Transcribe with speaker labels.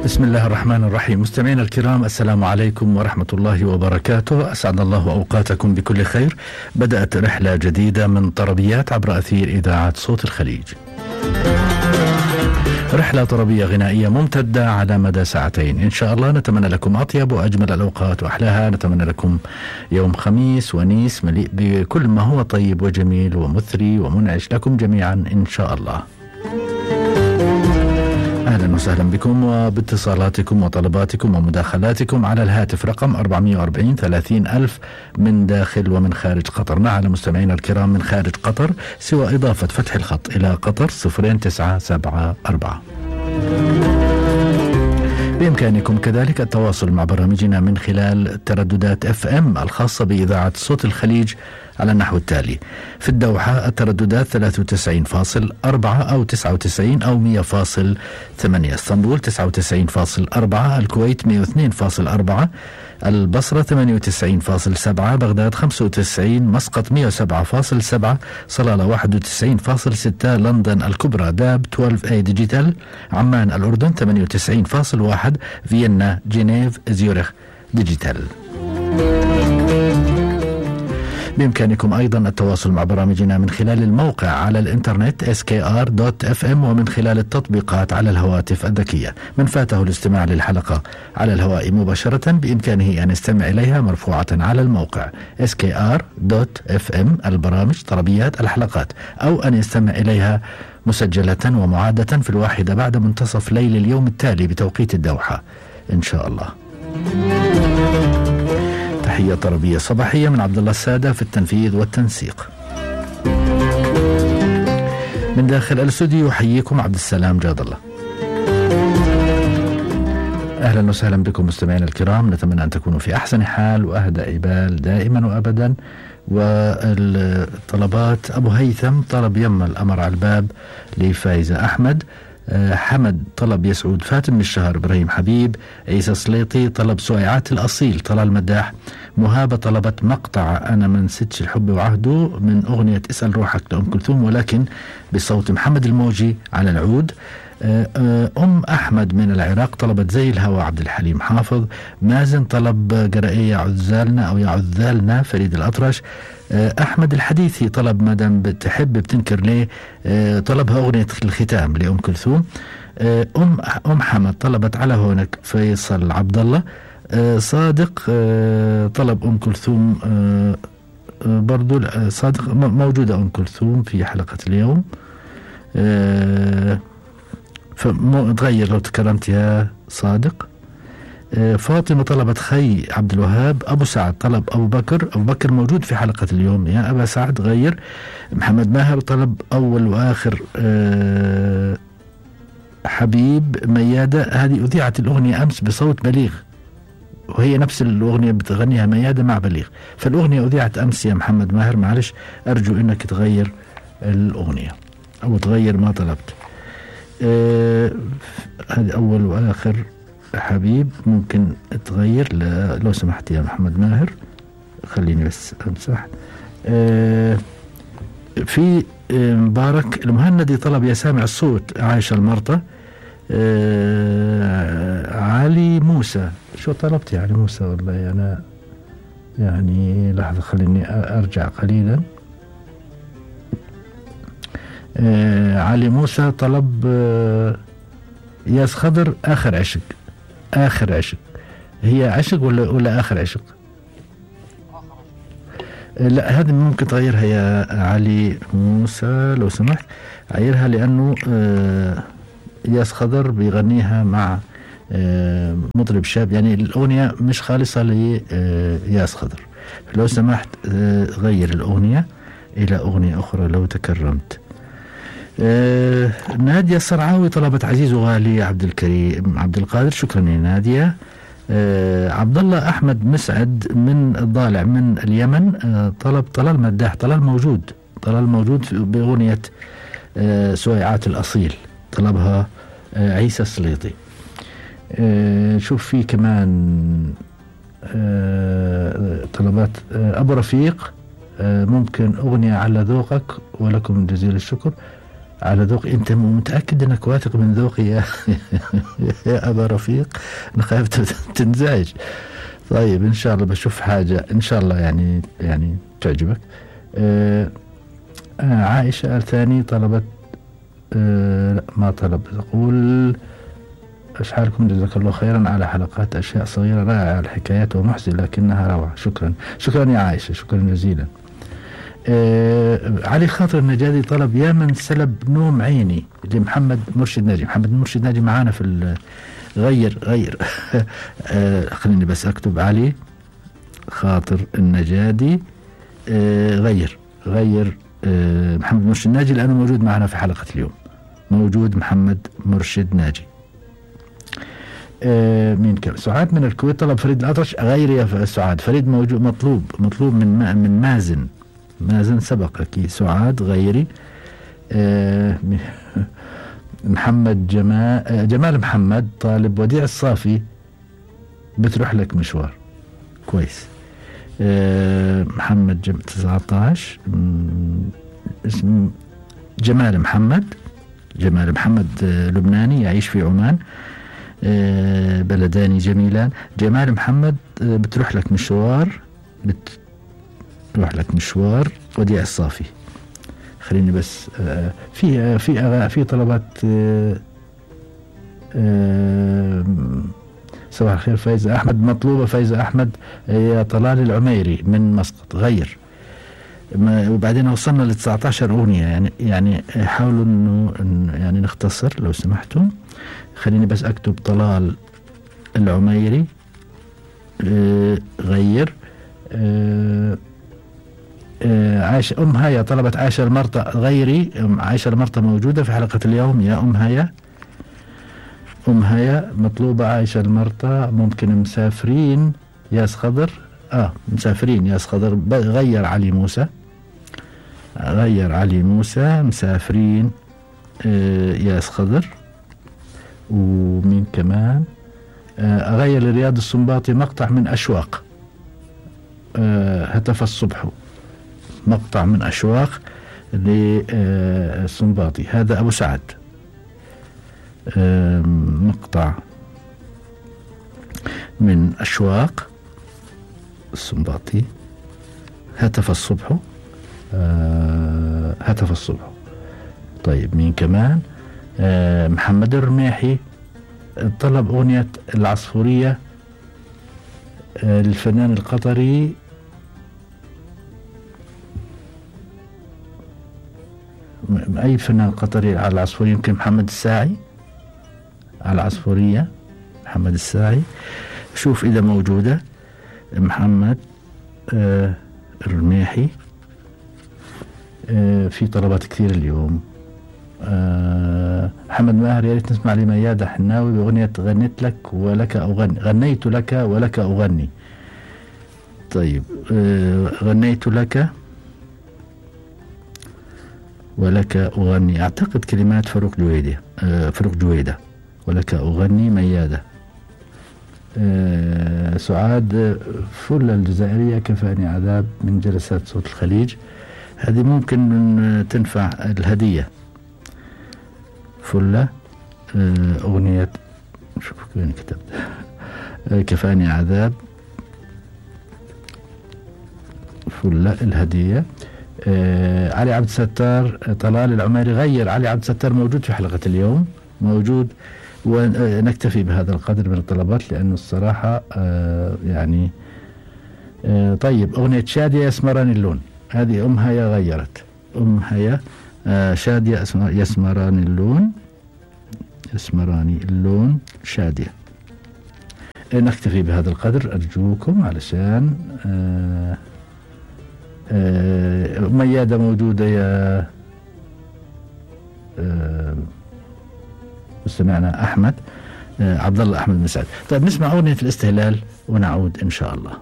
Speaker 1: بسم الله الرحمن الرحيم. مستمعينا الكرام، السلام عليكم ورحمة الله وبركاته. أسعد الله أوقاتكم بكل خير. بدأت رحلة جديدة من طربيات عبر أثير إذاعة صوت الخليج. رحلة طربية غنائية ممتدة على مدى ساعتين إن شاء الله. نتمنى لكم أطيب وأجمل الأوقات وأحلاها. نتمنى لكم يوم خميس ونيس مليء بكل ما هو طيب وجميل ومثري ومنعش لكم جميعا إن شاء الله. أهلا وسهلا بكم وباتصالاتكم وطلباتكم ومداخلاتكم على الهاتف رقم 440 30,000 من داخل ومن خارج قطر. معنا مستمعينا الكرام من خارج قطر سوى إضافة فتح الخط إلى قطر 0974. بإمكانكم كذلك التواصل مع برامجنا من خلال ترددات FM الخاصة بإذاعة صوت الخليج على النحو التالي: في الدوحة الترددات 93.4 أو 99 أو 100.8، اسطنبول 99.4، الكويت 102.4، البصرة 98.7، بغداد 95، مسقط 107.7، صلالة 91.6، لندن الكبرى داب 12A ديجيتال، عمان الأردن 98.1، فيينا جنيف زيورخ ديجيتال. بإمكانكم أيضا التواصل مع برامجنا من خلال الموقع على الإنترنت skr.fm ومن خلال التطبيقات على الهواتف الذكية. من فاته الاستماع للحلقة على الهواء مباشرة بإمكانه أن يستمع إليها مرفوعة على الموقع skr.fm البرامج طربيات الحلقات، أو أن يستمع إليها مسجلة ومعادة في 1 بعد منتصف ليل اليوم التالي بتوقيت الدوحة إن شاء الله. تحية طربية صباحية من عبد الله السادة في التنفيذ والتنسيق. من داخل الاستوديو يحييكم عبد السلام جاد الله. أهلا وسهلا بكم مستمعينا الكرام. نتمنى أن تكونوا في أحسن حال وأهدأ بال دائما وأبدا. والطلبات: أبو هيثم طلب يما الأمر على الباب لفايزة أحمد، حمد طلب يسعود فاتن من الشهر، إبراهيم حبيب، عيسى سليطي طلب سويعات الأصيل، طلال مداح، مهابة طلبت مقطع أنا ما نسيتش الحب وعهده من أغنية اسأل روحك لأم كلثوم ولكن بصوت محمد الموجي على العود. أحمد من العراق طلبت زي الهوى عبد الحليم حافظ. مازن طلب قرائية عذالنا أو يا عذالنا فريد الأطرش. أحمد الحديثي طلب مدام بتحب بتنكر ليه، طلبها أغنية الختام لأم كلثوم. أم حمد طلبت على هونك فيصل عبد الله. صادق طلب أم كلثوم برضو. صادق موجودة أم كلثوم في حلقة اليوم، فتغير لو تكرمت يا صادق. فاطمة طلبت خي عبد الوهاب. أبو سعد طلب أبو بكر. أبو بكر موجود في حلقة اليوم يا أبا سعد غير. محمد ماهر طلب أول وآخر حبيب ميادة. هذه أذيعت الأغنية أمس بصوت بليغ، وهي نفس الأغنية بتغنيها ميادة مع بليغ، فالأغنية أذيعت أمس يا محمد ماهر. معلش أرجو أنك تغير الأغنية أو تغير ما طلبت. هذه أول وآخر حبيب ممكن تغير لو سمحت يا محمد ماهر. خليني بس أمسح. في مبارك المهندي طلب يا سامع الصوت عايشة المرطة. علي موسى. شو طلبت يا علي موسى؟ والله أنا يعني لحظة خليني أرجع قليلا. علي موسى طلب ياس خضر آخر عشق. آخر عشق هي عشق ولا آخر عشق؟ لا هذه ممكن تغيرها يا علي موسى لو سمحت، غيرها لأنه ياس خضر بيغنيها مع مطرب شاب، يعني الأغنية مش خالصة لياس خضر. لو سمحت غير الأغنية إلى أغنية أخرى لو تكرمت. نادية الصرعاوي طلبت عزيز وغالي عبد الكريم عبد القادر. شكرا يا نادية. عبد الله أحمد مسعد من الضالع من اليمن طلب طلال مداح. طلال موجود بأغنية سويعات الأصيل، طلبها عيسى السليطي. شوف في كمان طلبات أبو رفيق ممكن أغنية على ذوقك ولكم جزيل الشكر. على ذوقي. أنت متأكد أنك واثق من ذوقي يا يا أبا رفيق؟ أنا خايف تنزعج. طيب إن شاء الله بشوف حاجة إن شاء الله يعني تعجبك. عائشة ثاني طلبت لا ما طلب، تقول أشحالكم جزاك الله خيرا على حلقات أشياء صغيرة رائعة، الحكايات ومحزنة لكنها روعة. شكرا يا عائشة، شكرا جزيلا. علي خاطر النجادي طلب يا من سلب نوم عيني لمحمد مرشد ناجي. محمد مرشد ناجي معانا في غير خليني بس أكتب علي خاطر النجادي غير محمد مرشد ناجي لأنه موجود معنا في حلقة اليوم. موجود محمد مرشد ناجي. مين كان؟ سعاد من الكويت طلب فريد الأطرش غير يا سعاد. فريد موجود، مطلوب من مازن سبق أكيد. سعاد غيري. محمد جمال محمد طالب وديع الصافي بتروح لك مشوار. كويس. محمد 19 اسم جمال محمد لبناني يعيش في عمان. بلدان جميلان. جمال محمد بتروح لك مشوار وديع الصافي. خليني بس في طلبات. صباح الخير فايزة أحمد مطلوبة. فايزة أحمد يا طلال العميري من مسقط غير. وبعدين وصلنا ل 19 أغنية يعني حاولوا إنه يعني نختصر لو سمحتوا. خليني بس أكتب طلال العميري غير. عائشة هيا طلبت عائشة المرطة غيري. عائشة المرطة موجودة في حلقة اليوم يا هيا مطلوبة عائشة المرطة. ممكن مسافرين ياس خضر. مسافرين ياس خضر غير علي موسى مسافرين ياس خضر. ومين كمان؟ أغير لرياض السنباطي مقطع من أشواق. هتف الصبح مقطع من أشواق للسنباطي. هذا أبو سعد. مقطع من أشواق السنباطي. هتف الصبح. طيب مين كمان؟ محمد الرميحي طلب أغنية العصفورية للفنان القطري أي فنان قطري على العصفورية. يمكن محمد الساعي على العصفورية. محمد الساعي شوف إذا موجودة. محمد الرميحي. في طلبات كثير اليوم. محمد ماهر يا ريت نسمع لميادة حناوي بأغنية غنيت لك ولك أغني. غنيت لك ولك أغني. طيب غنيت لك ولك أغني. أعتقد كلمات فاروق جويدة. ولك أغني ميادة. سعاد فل الجزائرية كفاني عذاب من جلسات صوت الخليج. هذه ممكن تنفع الهدية. فلة أغنية شوف وين كتبت كفاني عذاب. فلة الهدية. علي عبد الستار طلال العميري غير. علي عبد الستار موجود في حلقة اليوم موجود. ونكتفي بهذا القدر من الطلبات لأنه الصراحة يعني طيب أغنية شادية يسمراني اللون. هذه هيا غيرت. هيا شادية يسمراني اللون شادية. نكتفي بهذا القدر أرجوكم علشان ميادة موجودة يا مستمعنا أحمد عبد الله أحمد مسعد. طيب نسمع أغنية الاستهلال ونعود إن شاء الله.